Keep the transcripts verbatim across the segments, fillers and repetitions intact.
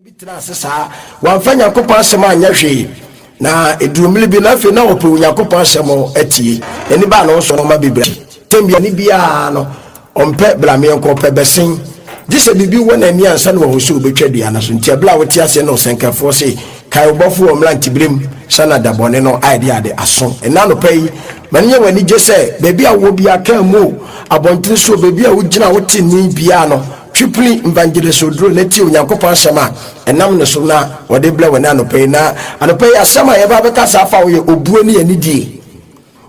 Bi tena ase saa, wamfa Nyankopɔn asɛm anyɛ hwee, na ɛduru mmere bi na afei na wɔpɛ Onyankopɔn asɛm atie. N'ani baa ne ho so no, ɔma bebree tɛm bi ani biara no, ɔmpɛ blameɛ nkɔ, ɔpɛ bɛsen gye sɛ biribi wɔ n'ani ansa na wahu sɛ wobɛtwa dua no so. Nti ɛberɛ a wote aseɛ no, ɔsɛnkafoɔ se, "Kae wo bɔfo wɔ mmeranteberɛm sa na da bɔne no ayɛ de ade aso." Ɛna anɔpa yi, ma no nyɛ w'ani gye sɛ baabi a wowɔ biara, kaa mu o, abɔntene so o, baabi a wogyina wote nni biara no, twipili Evangelist Oduro na tie Onyankopɔn asɛm a ɛnam ne so na wɔde brɛ wɔ ne anɔpa yi. Na anɔpa yi, asɛm a yɛba bɛka saa afa wo yɛ obuo ne anidie.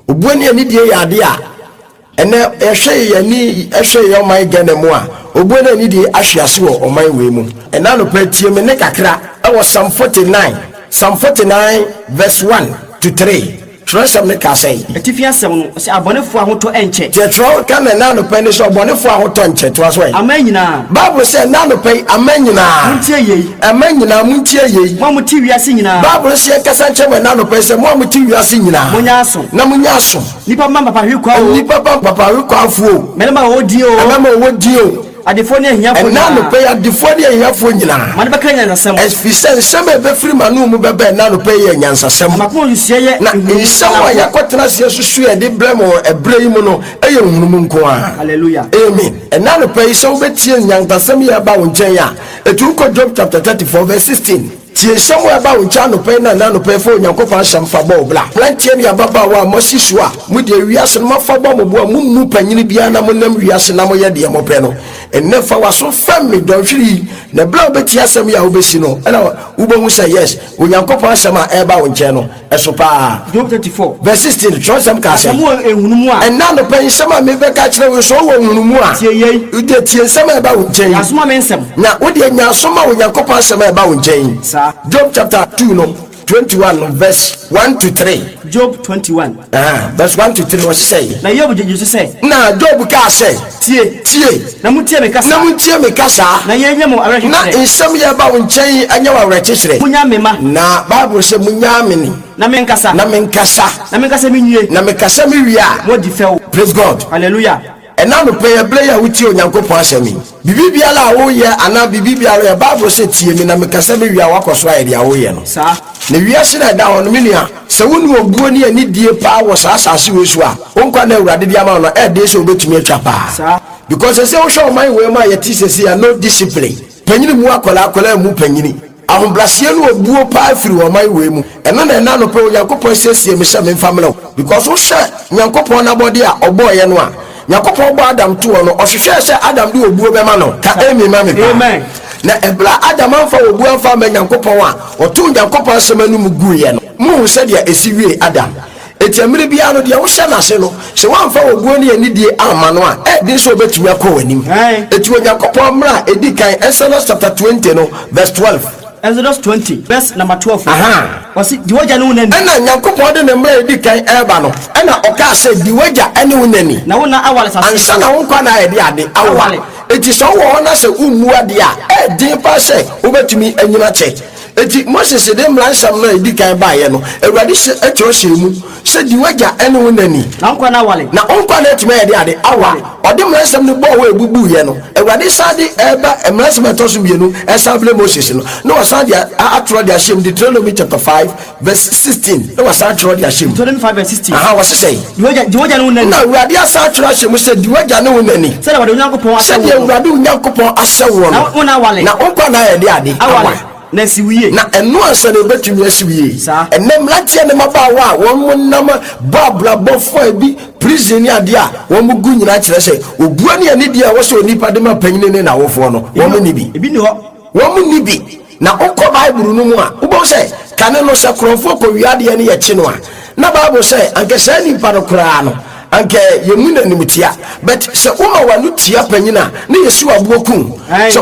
Obuo ne anidie yɛ adeɛ a ɛnɛ yɛhwɛ yɛn ani, ɛhwɛ yɛn ɔman Ghana mu a, obuo ne anidie ahwe ase wɔ ɔman wei mu. Ɛna anɔpa, tie me ne kakra ɛwɔ Psalm forty-nine, Psalm forty-nine verse one to three. Twerɛsɛm ne ka sɛn? Atifi asɛm no, ɔsɛ abɔnefoɔ ahotɔ ɛnkyɛ. Deɛ twerɛ ka na ɛna anɔpa ni sɛ ɔbɔnefoɔ ahotɔ nkyɛ. Toa so ɛ. Aman nyinaa. Bible sɛ ɛna anɔpa yi, aman nyinaa, montie yei. Aman nyinaa, montie yei. Mo a mote wiase nyinaa. Bible sɛ yɛnkasa nkyerɛ mo ɛna anɔpa yi sɛ mo a mote wiase nyinaa, monyɛ aso. Na monyɛ aso. Nnipa ma mpapahwe kwa o. Nnipa ba mpapahwe kwafoɔ o. Mmarima a wɔwɔ din o. Mmarima a wɔwɔ din o. Adefoɔ ne ahiafoɔ ɛna nyinaa. Anɔpa yi, adefoɔ ne ahiafoɔ nyinaa, ma ne bɛka nyansasɛm. Ɛfiri sɛ nsɛm a ɛbɛfiri m'ano mu bɛba ɛna anɔpa yi yɛ nyansasɛm. Na makoma nsusuɛ yɛ na nhunumu. Nsɛm a yɛakɔtena aseɛ susu yɛde brɛ mo ɛberɛ yi mu no ɛyɛ nhunumu nko a. Hallelujah. Amen. Ɛna anɔpa yi, sɛ wobɛtie nyansasɛm yi a ɛba wo nkyɛn a, ɛtu wokɔ Job chapter thirty-four verse sixteen. Tie nsɛm a ɛba wo nkyɛn anɔpa yi, na ɛna anɔpa yi, fa Onyankopɔn asɛm fa bɔ wo bra. Mmeranteɛ ne ababaawa a moasi so a mode wiase no moafa bɔ mo bo a mommu panyini biara na monam wiase na moyɛ deɛ mopɛ no, ɛnnɛ fa w'aso fam me dɔnhwere yi, na ɛberɛ a wobɛtie asɛm yi a wobɛsi no, ɛna wobɛhu sɛ yes, Onyankopɔn asɛm a ɛreba wo nkyɛn no ɛso paa. Job thirty-four verse sixteen, twerɛsɛm ka sɛ asɛm wɔ nhunumu a ɛnna anɔpa yi, nsɛm a mebɛka kyerɛ wo sɛ wowɔ nhunumu a, tie yei. Wode tie nsɛm a ɛba wo nkyɛn yi. Yɛasoma me nsɛm. Na wodeɛ nya aso ma Onyankopɔn asɛm a ɛba wo nkyɛn yi. Saa. Job chapter two no, twenty-one no, verse one to three. Job twenty-one. Ah, verse one to three, wɔse sɛ na Yob gyegye so sɛ, na Job kaa sɛ, tie. Tie. Na motie me kasa. Na montie me kasa. Na yɛnyɛ mo na awerɛkyekyerɛ. Nsɛm yɛ ba wo nkyɛn ɛnyɛ wo awerɛkyekyerɛ. Monya me ma. Na Bible sɛ monyaa me ni. Na menkasa. Na menkasa. Na menkasa menwie. Na mekasa mewie a, moadi fɛw. Praise God. Hallelujah. Ɛna anɔpa yi, ɛberɛ yi a wotie Onyankopɔn asɛm yi, biribi biara a woyɛ anaa biribi biara yɛ, Bible sɛ tie me na mekasa mewie a, woakɔ so ayɛ deɛ woyɛ no. Saa. Na wiase no a ɛda hɔ no, me nua, sɛ wone obuo ne anidie paa wɔ saa asase wei so a, wo nkwa na Awurade de ama wo no, ɛɛden sɛ wobɛtumi atwa paa. Saa. Because sɛ sɛ wohwɛ ɔman wei mu a yɛte sɛsi a, no discipline, panyini mu akwadaa, akwadaa mu panyini, ahobraseɛ no obuo paa firi ɔman wei mu. Ɛno na ɛna anɔpa Onyankopɔn siesie me sɛ memfa mmerɛ wo, because wohwɛ Nyankopɔn n'abɔde a ɔbɔɔyɛ no a, Nyankopɔn bɔ Adam toɔ no, ɔhwehwɛɛ sɛ Adam de obuo bɛma no. Ka amen ma me paa. Amen. Na ɛberɛ a Adam amfa obuo amfa ama Nyankopɔn a ɔtoo Nyankopɔn asɛm anom guiɛ no, muhu sɛdeɛ ɛsi wie Adam. Enti mmerɛ biara no, deɛ wohyɛ n'ase no, sɛ woamfa obuo ne anidie amma no a, ɛden sɛ wobɛtumi akɔ w'anim. Aye. Enti Onyankopɔn mmerɛ a ɛdi kan, Exodus chapter twenty no verse twelve. Exodus twenty verse number twelve. Aha. Ɔse di w'agya ne wo na ni. Ɛna Nyankopɔn de ne mmerɛ a ɛdi kan ɛreba no, ɛna ɔkaa sɛ di w'agya ne wo nani. Na wo na awale sase. Ansa na wo nkwa na ayɛ de ade awa. Awale. Enti sɛ wowɔ hɔ na sɛ wommu adeɛ a, ɛɛden paa sɛ wobɛtumi anyina kyɛ. Enti Moses de mmara nsɛm no a ɛdi kan baeɛ no, Awurade hyɛ atwerɛ hyɛ mu sɛ di w'agya ne wo nani. Na wo nkwa na awale. Na wo nkwa na atumi ayɛ de ade awa. Ɔde mmara nsɛm no bɔɔ hɔ a ɛbubuiɛ no, Awurade san de ɛba mmara nsɛm a ɛtɔ so mmienu ɛsan brɛ Moses no, na wasan de atwerɛ de ahyɛ mu, Deuteronomy chapter five verse sixteen, na wasan atwerɛ de ahyɛ mu. Deuteronomy five verse sixteen. Aha, wɔse sɛ di w'agya di w'agya ne wo na ni. Na Awurade asan atwerɛ ahyɛ mu sɛ di w'agya ne wo nani. Sɛdeɛ wɔde Onyankopɔn ahyɛ sɛdeɛ wo no. Awurade wo Nyankopɔn ahyɛ wo na no. wo na awale. Na wo nkwa na ayɛ de ade awale na asi wo yie. Na ɛno ansa na ɛbɛtumi asi wo yie. Saa. Ɛnɛ mmeranteɛ ne mmabaawa a wɔn mo nam bɔ abrabɔfoɔ a bi prison ne adeɛ a wɔn mo gu nyinaa kyerɛ sɛ obua ne anidie a ɛwɔ sɛ onipa de ma panyini ne n'awofoɔ no, wɔn mo ni bi. Ebi ni hɔ. Wɔn mo ni bi. Na wokɔ Bible no mu a, wobɛhu sɛ kane no, sɛ korɔmfoɔ kɔwia adeɛ no yɛkye no a, na Bible sɛ anka saa nipa no koraa no, anka yɛmu n'anim tia. But sɛ woma w'ano tia panyin a, ne yɛsi w'aboɔ kum. Aye. Sɛ